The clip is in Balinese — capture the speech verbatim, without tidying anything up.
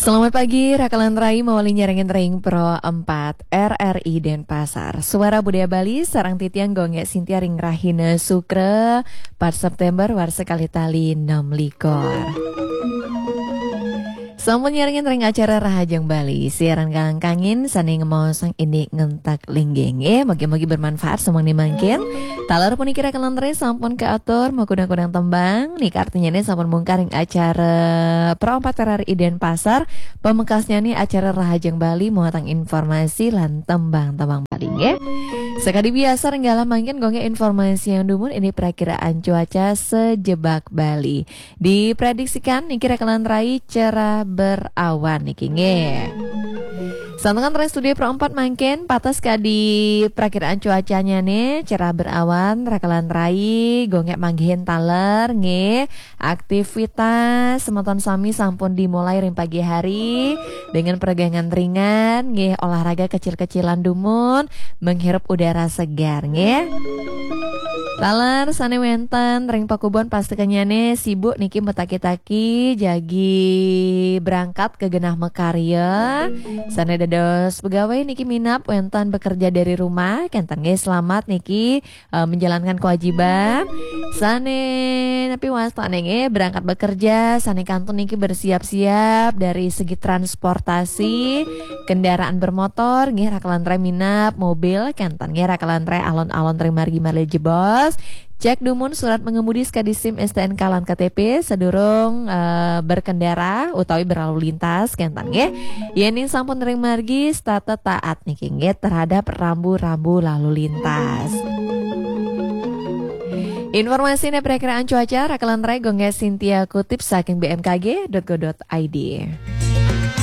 Selamat pagi, rakalan rai mawali nyarengin ring Pro empat R R I Denpasar. Suara Budaya Bali, sareng titiang Gung Gé Sintia ring rahina Sukra, empat September, warsa kalih tali enam likur. Sampun nyarengin ring acara Rahajeng Bali, siaran kalangkangin sané ngemaosang indik ngentek linggih. Mugi-mugi bermanfaat sumangdané mangkin. Taler puniki rakalan rai sampun kaatur makudang-kudang tembang. Nika artinyané sampun mungkar ring acara Pro empat R R I Denpasar. Pamekasnyané acara Rahajeng Bali muatang informasi lan tembang-tembang Bali nggih. Sakadi biasa ring galah mangkin Gung Gé informasiang dumun indik prakiraan cuaca sajebag Bali. Diprediksikan niki rakalan rai cerah berawan niki nggih. Santukan ring studio Pro empat mangkin, patas kadi prakiraan cuacanya nih, cerah berawan, rakalan rai, Gung Gé manggihin taler nggih. Aktivitas semeton sami sampun dimulai ring pagi hari dengan peregangan ringan nggih, olahraga kecil-kecilan dumun, menghirup udara segar nggih. Taler sané wénten ring pakubon, pastikanyané sibuk niki mataki-taki jagi berangkat ka genah makarya. Sané dados pegawai niki minab wénten bekerja dari rumah, kénten nggih, selamat niki, eh, menjalankan kewajiban. Sané napi wastané nggih berangkat bekerja, sané kantun niki bersiap-siap dari segi transportasi, kendaraan bermotor nggih, rakalan rai minab mobil, kénten nggih, rakalan rai alon-alon ring margi malih jebos. Cek dumun surat mengemudi sakadi SIM, STNK lan KTP sadurung, eh, berkendara utawi berlalu lintas, kénten nggih. Yéning sampun ring margi, setata taat niki nggih terhadap rambu-rambu lalu lintas. Informasiné prakiraan cuaca, rakalan rai, Gung Gé Sintia kutip saking B M K G dot go dot I D.